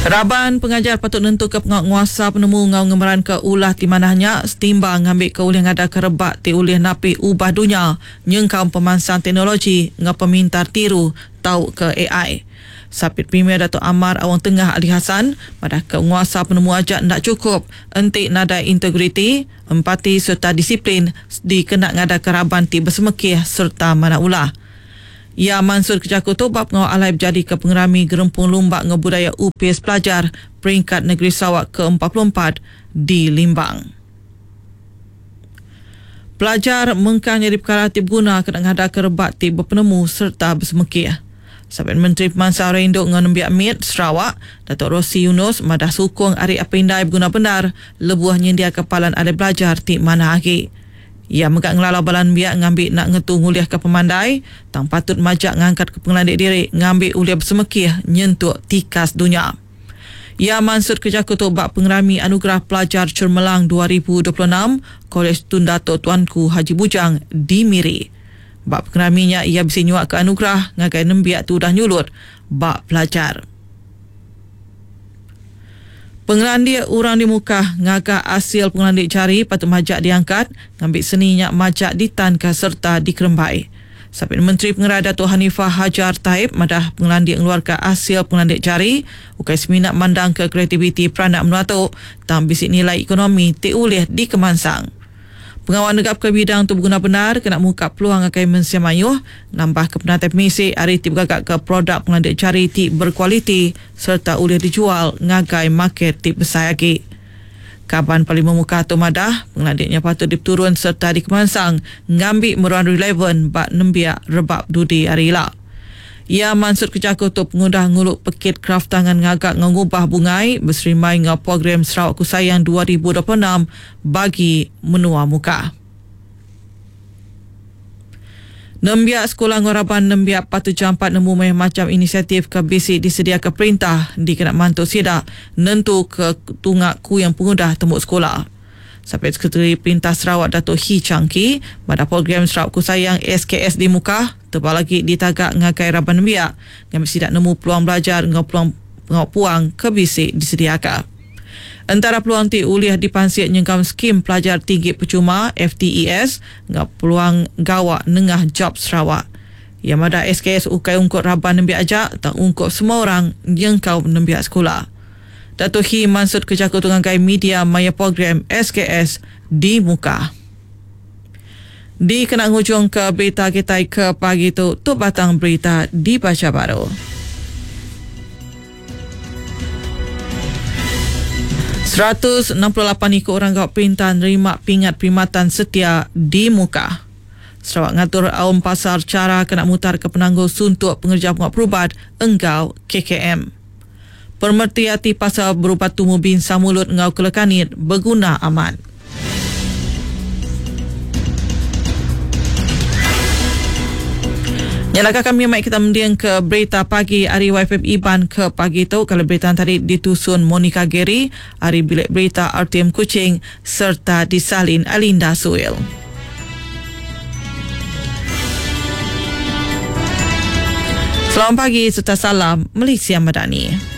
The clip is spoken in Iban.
Raban pengajar patut nentuka pengawa nguasa penemu enggau ngemeranka ulah ti manah nya setimbang ngambika ulih ngadaka rebak ti ulih napi ubah dunya nyengkaum pemansang teknologi enggau pemintar tiru tauka ai. Sapit Premier Datuk Amar Awang Tengah Ali Hasan madahka nguasa penemu aja enda chukup enti nadai integriti, empati sereta disiplin dikena ngadaka raban ti besemekih sereta manah ulah. Iya mansutka jaku tu ba pengawa alai bejadika Pengerami Gerempung Lumba enggau Budaya Upis Pelajar Peringkat Negeri Sarawak ke 44 di Limbang. Pelajar mengkang nyadi pekara ti beguna kena ngadaka rebak ti bepenemu sereta besemekih. Sapit Menteri Pemansang Orang Indu enggau Nembiak Mit Sarawak, Datuk Rosey Yunus madah sukung ari apai indai beguna bendar lebuh nyendiaka palan alai belajar ti manah agi. Iya mega ngelalau bala nembiak ngambi enda ngetu ngulihka pemandai tang patut majak ngangkatka pengelandik diri ngambi ulih besemekih nyentuk tikas dunya. Iya mansutka jaku tu ba Pengerami Anugerah Pelajar Cermelang 2026 Kolej Tun Dato Tuanku Haji Bujang di Miri. Ba pengerami nya iya bisi nyuaka anugerah ngagai nembiak ti udah nyulut ba pelajar. Pengelandik orang di Mukah ngaga asil pengelandik jari patut majak diangkat ngambi seni nya majak ditanka sereta dikerembai. Sapit Menteri Pengerai Datuk Hanifah Hajar Taib madah pengelandik ngeluarka asil pengelandik jari ukai semina mandangka kreativiti peranak menua tu tang bisi nilai ekonomi ti ulih dikemansang. Pengawa negapka bidang tu beguna bendar kena muka peluang ngagai mensia mayuh nambahka penatai pemisi ari ti begagaka produk pengelandik jari ti berkualiti sereta ulih dijual ngagai market ti besai agi. Kaban Parlimen Mukah tu madah, pengelandik nya patut dipeturun sereta dikemansang ngambi meruan relevan ba nembiak rebak dudi hari ila. Iya mansutka jaku tu pengudah ngulu Pekit Kraftangan Ngaga enggau Ngubah Bungai beserimbai enggau Program Sarawakku Sayang 2026 bagi menua Mukah. Nembiak sekula enggau raban nembiak patut jampat nemu mayuh macham inisiatif ke bisi disediaka perintah dikena mantu sida nentuka tunga kuing pengudah tembu sekula. Sapit Sekretari Perintah Sarawak Datuk Hii Chang Kee madah program Sarawakku Sayang SKS di Mukah tebal agi ditaga ngagai raban nembiak ngambi sida nemu peluang belajar enggau peluang pengawa puang ke bisi disediaka. Entara peluang ti ulih dipansik nyengkaum Skim Pelajar Tinggi Pechuma, FTES, enggau peluang gawa nengah Job Sarawak. Iya madah SKS ukai ungkup raban nembiak aja tang ungkup semua orang nyengkaum nembiak sekula. Dato Hii mansutka jaku tu ngagai media maya program SKS di Mukah. Dikena ngujungka berita kitai ke pagi tu, tu batang berita dibacha baru. 168 iku orang gawa perintah nerima pingat perkhidmatan setia di Mukah. Sarawak ngatur aum pasar chara kena mutarka penanggul suntuk pengereja pengawa perubat enggau KKM. Pemereti ati pasal berubat tumu binsa mulut enggau kelekanit beguna amat. Nya laka kami mai kita mending ke berita pagi ari YFM Iban ke pagi tu kalau berita tadi ditusun Monica Gary ari bilik berita RTM Kuching serta disalin Alinda Suil. Selamat pagi serta salam Malaysia Madani.